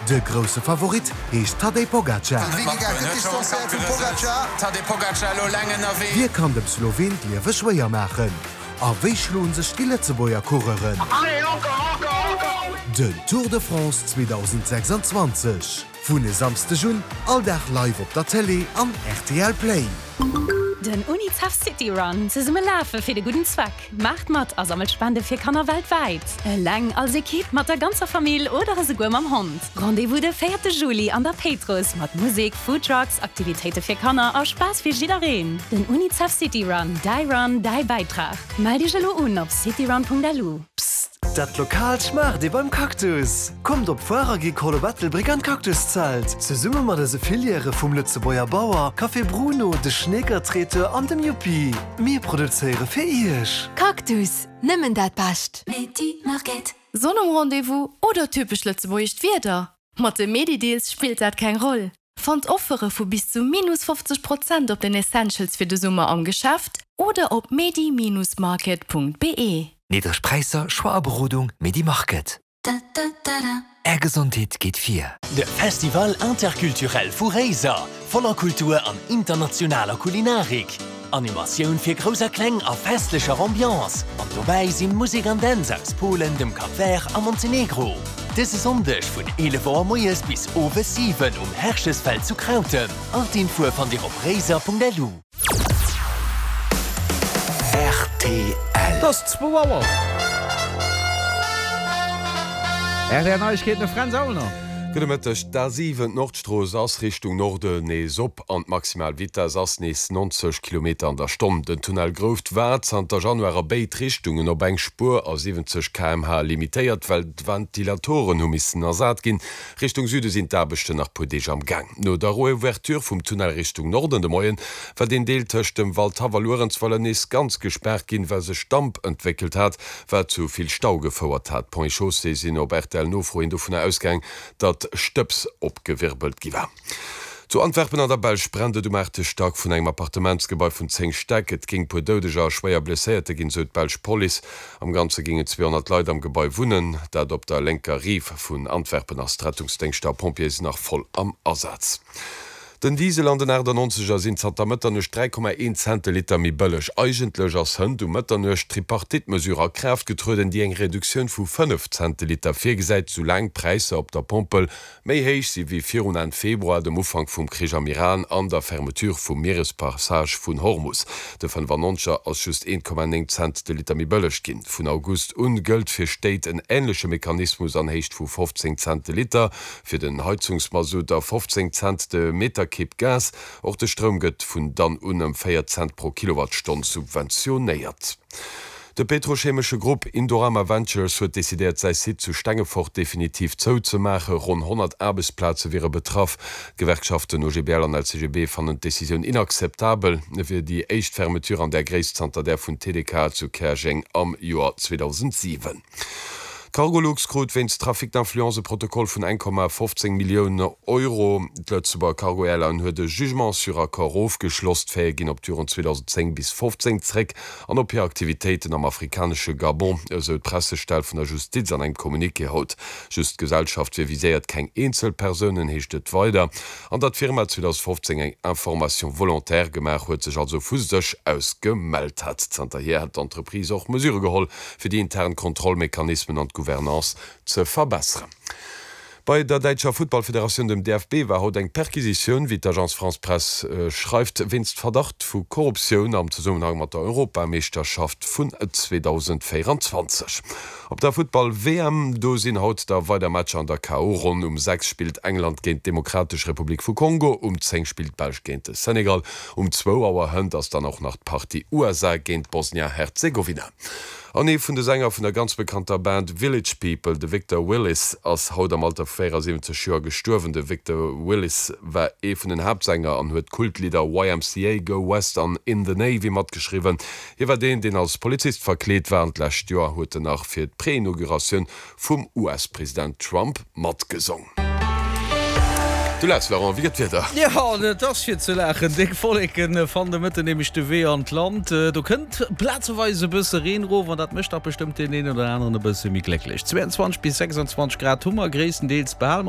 De grousse Favorit heescht Tadej Pogacar. Wie kann dem Sloween d'Liewe schwéier maachen? A wéi schloen sech déi Lëtzebuerger Coureuren? Den Tour de France 2026 vun e Samsdeg un all Dag live op der Télé an rtl Play. Den UNICEF City Run, Zesumme lafe fir de gudden Zweck! Maacht mat a sammelt Spende fir Kanner weltwäit! Eleng, als Ekipp, mat der ganzer Famill oder esouguer mam Hond. Rendez-vous de véierte Juli an der Péitruss mat Musek, Foodtrucks, Aktivitéite fir Kanner a Spaass fir jiddereen. Den UNICEF City Run, däi Run, däi Bäitrag. Mell dech elo un op cityrun.lu. Psst! Dat Lokaalt schmaacht ee beim Cactus! Kommt op d'Foire Agricole op Ettelbréck an d'Cactuszelt! Zesumme mat eise Filièrë vum Lëtzebuerger Bauer, Café Bruno, de Schneeker Traiteur an dem Yuppi. Mir produzéiere fir Iech! Cactus, nëmmen dat Bescht! Sonn um Rendez-vous oder typesch lëtzebuergescht Wieder? Mat de Medi-Deals spillt dat keng Roll. Fannt Offere vu bis zu minus 50 Prozent op den Essentials fir de Summer am Geschäft oder op medi-market.be. Niddreg Präisser, Choix a Berodung, Medi-Market. Är Gesondheet geet vir! De Festival Interculturel vu Réiser, voller Kultur an internationaler Kulinarik. Animatioun fir Grouss a Kleng a festlecher Ambiance. An dobäi sinn Musek an Dänz aus Polen, dem Cap Vert a Montenegro. Dëse Sonndeg vun 11 Auer moies bis owes 7 um Herchesfeld zu Krautem. All d'Infoe fannt dir op réiser.lu. Rtl. Et ass zwou Auer. Rtl Neiegkeeten, de Fränz Aulner. Gudde Mëtteg. D'A7, d'Nordstrooss, ass Richtung Norden nees op an d'maximal Vitess ass nees 90 Kilometer an der Stonn. Den Tunnel Grouft war zanter Januar a béid Richtungen op eng Spuer a 70 km/h limitéiert, well d'Ventilatoren hu missen ersat ginn. Richtung Süde sinn d'Aarbechten nach puer Deeg am Gaang. No der Reouverture vum Tunnel Richtung Norden de Moien war deen Deel tëscht dem Waldhaff a Luerenzweiler nees ganz gespaart ginn, well sech Damp entwéckelt hat, wat zu vill Stau gefouert hat. D'Ponts et Chaussées sinn op RTL-Nofro hin dovunner ausgaang, datt Stëbs opgewirbelt gi war. Zu Antwerpen an der Belsch brennt et um aachte Stack vun engem Appartementsgebai vun 10 Stäck. Et géing puer Doudeger a schwéier Blesséierte ginn, sou d'belsch Police. Am Ganze géingen 200 Leit am Gebai wunnen, dat op der lénker Rive vun Antwerpen ass. D'Rettungsdéngschter a Pompjeeë sinn nach voll am Asaz. Den Diesel an den 98 er sinn zanter Mëtternuecht 3,1 Cent de Liter méi bëlleg. Eigentlech ass hënt um Mëtternuecht d'Tripartite-Mesure a Kraaft getrueden, déi eng Reduktioun vu 5 Cent de Liter virgesäit, soulaang d'Präisser op der Pompel méi héich si wéi virun Enn Februar, dem Ufank vum Krich am Iran an der Fermeture vum Mierespassage vun Hormus. De 95 er ass just 1,9 Cent de Liter méi bëlleg ginn. Vun August un gëllt fir Stéit en änleche Mechanismus an Héicht vu 15 Cent de Liter. Fir den Heizungsmasutt a 15 Cent de Meterkibb Gas. Och de Stroum gëtt vun dann un ëm 4 Cent pro Kilowattstonn subventionéiert. De petrochemesche Grupp Indorama Ventures huet decidéiert, säi Site zu Stengefort definitiv zouzemaachen. Ronn 100 Aarbechtsplaze wiere betraff. D'Gewerkschaften OGBL an LCGB fannen d'Decisioun inakzeptabel. Et wier déi éischt Fermeture an där Gréisst zanter där vun TDK zu Käerjeng am Joer 2007. D'Cargolux krut wéinst Trafic d'influence e Protokoll vun 1,15 Millioun Euro. D'Lëtzebuerger Cargo Airline huet e Jugement sur accord ofgeschloss. D'Faite ginn op d'Joren 2010 bis 15 zréck an op hir Aktivitéiten am afrikanesche Gabon, esou d'Pressestell vun der Justiz an engem Communiqué haut. Just d'Gesellschaft wier viséiert, keng eenzel Persounen, heescht et weider. An datt d'Firma 2015 eng Information volontaire gemaach huet, sech also vu sech aus gemellt hat. Zanterhier hätt d'Entreprise och Mesure geholl, fir déi intern Kontrollmechanismen an d'Gouvernance ze verbesseren. Bei der däitscher Futtballfederatioun, dem DFB, war haut eng Perquisitioun, wéi d'Agence France-Presse schreift, wéinst Verdacht vu Korruptioun am Zesummenhang mat der Europameeschterschaft vun 2024. Op der Futtball-WM, do sinn haut da weider Matcher an der KO-Ronn. Um 6 spillt England géint d'Demokratesch Republik vu Kongo, um 10 spillt d'Belsch géint de Senegal, um zwou Auer hënt ass dann och nach d'Partie USA géint Bosnia-Herzegowina. An ee vun de Sänger vun der ganz bekannter Band Village People, de Victor Willis, ass haut am Alter vu 74 Joer gestuerwen. De Victor Willis war ee vun den Haaptsänger an huet d'Kultlidder YMCA, Go West an In the Navy matgeschriwwen. Hie war deen, deen als Polizist verkleet war an d'lescht Joer huet en nach fir d'Preinauguratioun vum US-President Trump matgesong. Du laachs, Laurent, wéi gëtt d'Wieder? Jo, et ass fir ze laachen. Déck Wolleken fannen de Mëtten nämlech de Wee an d'Land. Do kënnt plazeweis e bësse Reen erof an dat mécht dach bestëmmt deen een oder aneren e bësse méi glécklech. 22 bis 26 Grad hu mer, gréisstendeels behale mer.